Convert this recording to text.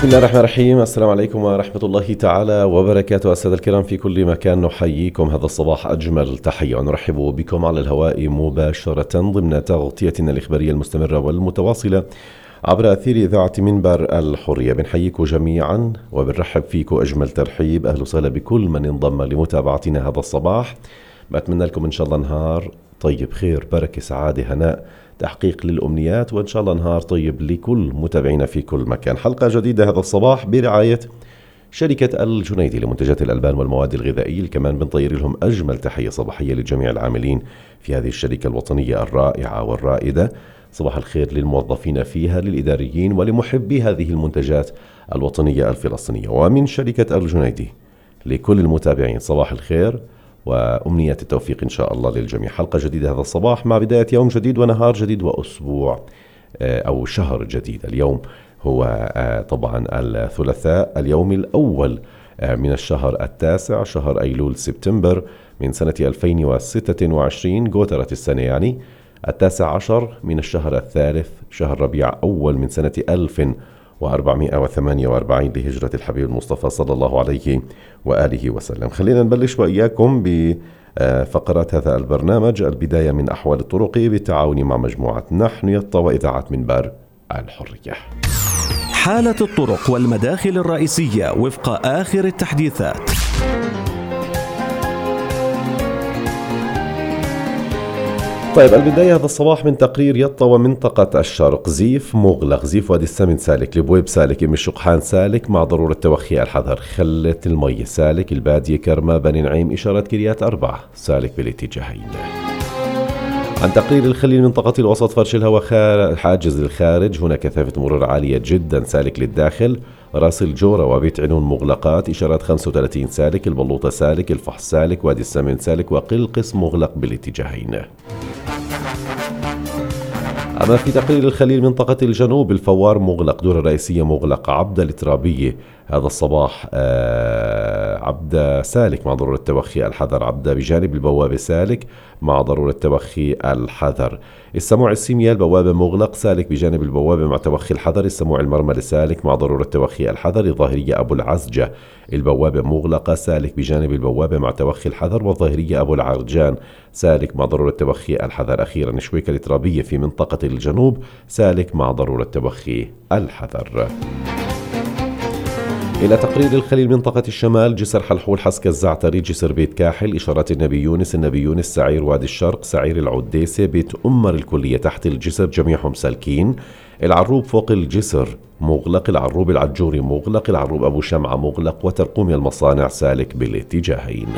بسم الله الرحمن الرحيم. السلام عليكم ورحمة الله تعالى وبركاته. السادة الكرام في كل مكان نحييكم هذا الصباح أجمل تحية ونرحب بكم على الهواء مباشرة ضمن تغطيتنا الإخبارية المستمرة والمتواصلة عبر أثير إذاعة منبر الحرية. بنحييكم جميعا وبنرحب فيكم أجمل ترحيب. أهلا وسهلا بكل من انضم لمتابعتنا هذا الصباح. بتمنى لكم إن شاء الله نهار طيب، خير، بركة، سعادة، هناء، تحقيق للأمنيات، وإن شاء الله نهار طيب لكل متابعينا في كل مكان. حلقة جديدة هذا الصباح برعاية شركة الجنيدي لمنتجات الألبان والمواد الغذائية. كمان بنطير لهم أجمل تحية صباحية لجميع العاملين في هذه الشركة الوطنية الرائعة والرائدة. صباح الخير للموظفين فيها، للإداريين ولمحبي هذه المنتجات الوطنية الفلسطينية. ومن شركة الجنيدي لكل المتابعين صباح الخير وأمنية التوفيق إن شاء الله للجميع. حلقة جديدة هذا الصباح مع بداية يوم جديد ونهار جديد وأسبوع أو شهر جديد. اليوم هو طبعا الثلاثاء، اليوم الأول من الشهر التاسع، شهر أيلول سبتمبر من سنة 2026. قوترة السنة يعني 19 من الشهر الثالث، شهر ربيع أول من سنة 1448 لهجرة الحبيب المصطفى صلى الله عليه وآله وسلم. خلينا نبلش وإياكم بفقرات هذا البرنامج. البداية من أحوال الطرق بالتعاون مع مجموعة نحن يطا وإذاعة منبر الحرية. حالة الطرق والمداخل الرئيسية وفق آخر التحديثات. طيب، البداية هذا الصباح من تقرير يطا ومنطقة الشرق. زيف مغلق، زيف وادي السمن سالك، البويب سالك، ام الشقحان سالك مع ضرورة توخي الحذر. خلة المي سالك، البادية، كرمة، بني نعيم، إشارة كريات أربعة سالك بالاتجاهين. عن تقرير الخليل منطقة الوسط فرش الهواء حاجز الخارج، هنا كثافة مرور عالية جدا سالك للداخل. راس الجورة وبيت عنون مغلقات، إشارات 35 سالك، البلوطة سالك، الفحص سالك، وادي السمن سالك، وقلقس مغلق بالاتجاهين. أما في تقرير الخليل منطقة الجنوب الفوار مغلق، دور الرئيسية مغلق، عبدة الترابية هذا الصباح عبدة سالك مع ضرورة توخي الحذر. عبدة بجانب البوابة سالك مع ضرورة توخي الحذر. السموع السيميا البوابة مغلق سالك بجانب البوابة مع توخي الحذر. السموع المرمى سالك مع ضرورة توخي الحذر. الظاهرية أبو العزجة البوابة مغلقة سالك بجانب البوابة مع توخي الحذر. والظاهرية أبو العرجان سالك مع ضرورة توخي الحذر. أخيرا شويكة الترابية في منطقة الجنوب سالك مع ضرورة توخي الحذر. إلى تقرير الخليل منطقة الشمال جسر حلحول حسك الزعتري، جسر بيت كاحل، إشارات النبي يونس، سعير وادي الشرق، سعير العديسة، بيت أمر الكلية تحت الجسر جميعهم سالكين. العروب فوق الجسر مغلق، العروب العجوري مغلق، العروب أبو شمعة مغلق، وترقومي المصانع سالك بالاتجاهين.